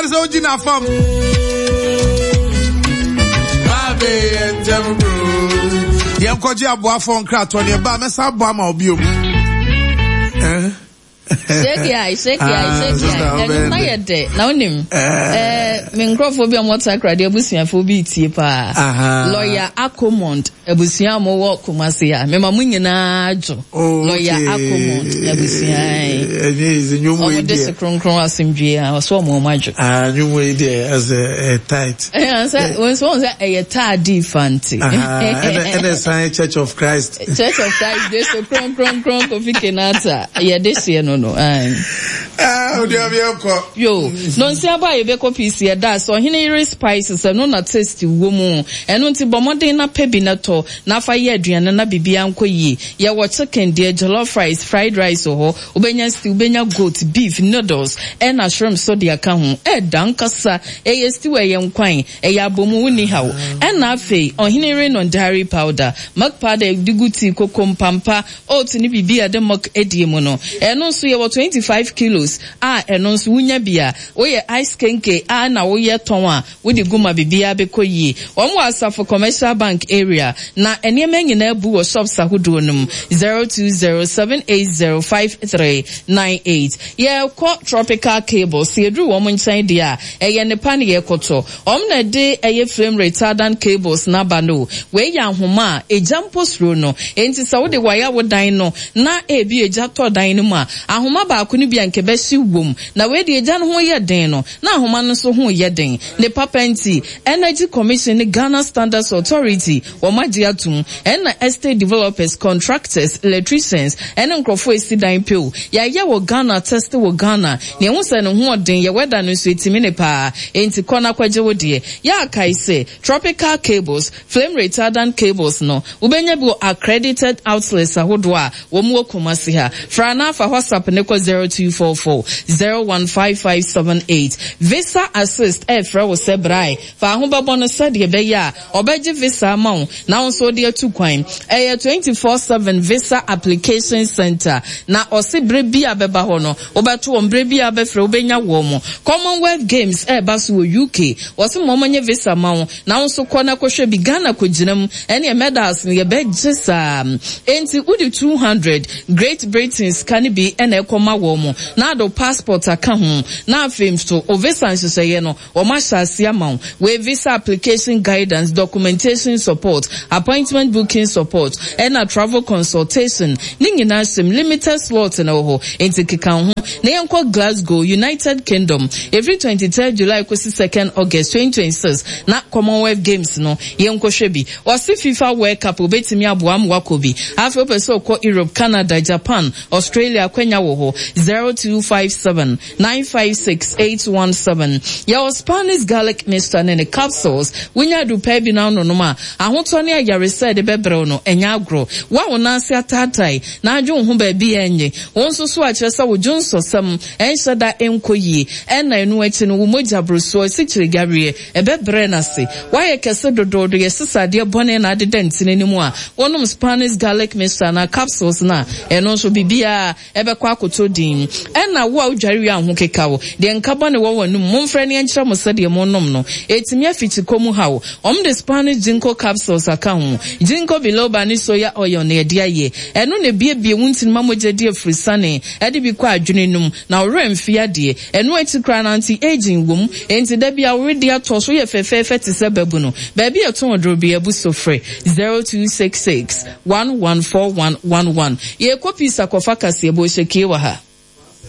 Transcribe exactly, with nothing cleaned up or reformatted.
nyinaa sɛ wogyina fam. Yɛnkɔgye aboafoɔ nkratoɔ ne ɛba mɛsa aboa ma obiom. Eh? Shake eye, shake eye, shake eye. Ɛno na yɛ dɛ. Na wonim. Eh, me nkurɔfoɔ bi a wɔwɔ Takoradi abusuafoɔ bi tie paa. Lawyer Akomond abusua a wɔwɔ Kumasi a. Mema mo nyinaa dwo. Oh, Lawyer okay. Akomond abusua. Ɛnyɛ easy nnwom wei Wɔn de deɛ. se kronkron asomdwie a ɔso wɔn wɔn adwo. Ah, nnwom wei deɛ ɛsɛ ɛ tight. Ɛyɛ sɛ wɔn nso wɔn sɛ ɛyɛ taadi fanti. Aha, ɛna ɛna ɛsan Church of Christ. Church of Christ de so kronkron kronkron Kofi Kenata yɛde hyɛ no no. Aye. Ah, odi abi ɛkɔ. Yo, nonsi aba a yɛbɛkɔ P C ɛda sɛ Ɔhene Yere Spices, ɛno na taste wɔ mu. Ɛno nti bɔ mmɔden na pɛ bi na tɔ na fa yɛ aduane na biribiara nkɔ yie. Yɛwɔ chicken deɛ, jollof rice, fried rice wɔ hɔ. Wobɛnya stew, wobɛnya goat, beef, noodles, ɛna shrimp so de aka ho. Ɛda nkasa, ɛyɛ stew, ɛyɛ nkwan, ɛyɛ abomu, wonni haw. Ɛna afei, Ɔhene Yere non dairy powder, milk powder de gu tea, koko, mpampa, oat ne biribi a yɛde milk adie mu no. Ɛno nso yɛwɔ twenty-five kilos a ɛno nso wonya bi a woyɛ ice kenke a na woyɛ tɔn a wode gu ma biribiara bɛkɔ yie. Wɔn wɔ Asafo Commercial Bank area na nneɛma nyinaa bu wɔ shops ahodoɔ no mu. zero two zero seven eight zero five three nine eight. Yɛkɔ Tropical Cables. Yɛduru wɔn nkyɛn deɛ a, ɛyɛ nipa ne yɛkɔtɔ. Wɔn na de ɛyɛ flame retardant cables n'aba no. Wei yɛ ahoma a egya mpo suro no, enti sɛ wode waya wo dan no na ebi egya tɔ dan no mu a, ahoma baako no bi a nkɛbɛhye wom na wei de egya no ho yɛ den no na ahoma no nso ho yɛ den ne papa. Nti Energy Commission ne Ghana Standards Authority wɔn agye atum, ɛna estate developers, contractors, electricians ɛne nkurɔfoɔ esi dan pew. Yɛayɛ wɔ Ghana, test wɔ Ghana nea ɛho sɛ ne ho ɔden yɛ wɛda no nso etimi ne paa. Enti kɔ na kɔgye wo deɛ. Yɛ akae sɛ Tropical Cables flame retardant cables no, wobɛnya bi wɔ accredited outlets ahodoɔ a wɔn wɔ Kumasi ha. Fra na afa WhatsApp ne kɔ zero two four four zero one five five seven eight. Visa Assist ɛɛfrɛ wo sɛ brae fa ho bɛbɔ no sɛdeɛ ɛbɛyɛ a ɔbɛgye visa ama wo na wo nso wode atu kwan. Ɛyɛ twenty-four seven visa application center na ɔse berɛ bi a bɛba hɔ no, wobɛto wɔn berɛ bi a bɛfrɛ, wobɛnya wɔn mo. Commonwealth Games ɛɛba so wɔ U K, wɔse ma ɔmanyɛ visa ma wo na wo nso kɔ na kɔhwɛ bi. Ghana kɔgyina mu ɛne medals no yɛbɛgye saa. Enti wode two hundred Great Britain sika no bi ɛna ɛkɔma wɔn mo na ade passport aka ho na afei nso o visa nhyehyɛeɛ no wɔn ahyɛ ase ama wo. Wei visa application guidance, documentation support, appointment booking support ɛna travel consultation ne nyinaa hyɛm. Limited slot na wɔ hɔ, nti keka ho na yɛnkɔ Glasgow, United Kingdom, every twenty-third July kɔsi second August twenty twenty-six na Commonwealth Games no yɛnkɔhwɛ bi. Wɔsi FIFA World Cup, obetumi aboa ama wakɔ bi. Afei wopɛ sɛ ɔkɔ Europe, Canada, Japan, Australia, akwanya wɔ hɔ. zero two five seven nine five six eight one seven. Yɛwɔ Spanish garlic mixture ne ne capsules. Wonya adupɛ bi na anonom a, ahotɔ ne ayaresɛ de bɛbrɛw no ɛnyɛ agorɔ. Wo a wo nan ase ataatae na adwe wo ho baabi a ɛnyɛ wɔn nso so akyerɛ sɛ wo dwo nsɔsɛm ɛnhyɛ da ɛnkɔ yie, ɛna ɛno akyi no wo mogya borosoɔ, asikyire gareɛ, ɛbɛbrɛ n'ase. Woayɛ kɛse dodoodo, yɛsesa adeɛ bɔne na adeda ntini no mu a, wɔnom Spanish garlic mixture na capsules na ɛno nso biribiara ɛbɛkɔ akoto din. Ɛna wo a wodware wie a ho keka wo deɛ, nka bɔne wɔ w'anum, momfrɛ ne ɛnkyerɛ mo sɛdeɛ monom no ɛtumi afikyi kɔ mu haw. Ɔm de Spanish ginkgo capsules aka ho. Ginkgo biloba ne soya oil na yɛde ayɛ. Ɛno na ebiebie wo ntini ma mogya di afurisane ɛde bi kɔ adwene no mu na ɔwerɛ mfi adeɛ. Ɛno akyi koraa na anti aging wɔ mu, enti da bi a woredi atɔ so yɛ fɛfɛɛfɛ te sɛ babu no. Baabi a ɛtɔn duro bi abu so, frɛ zero two six six one one four one one one. Yɛkɔ peace akɔfa kaseɛ bɔ hyɛ kie wɔ ha.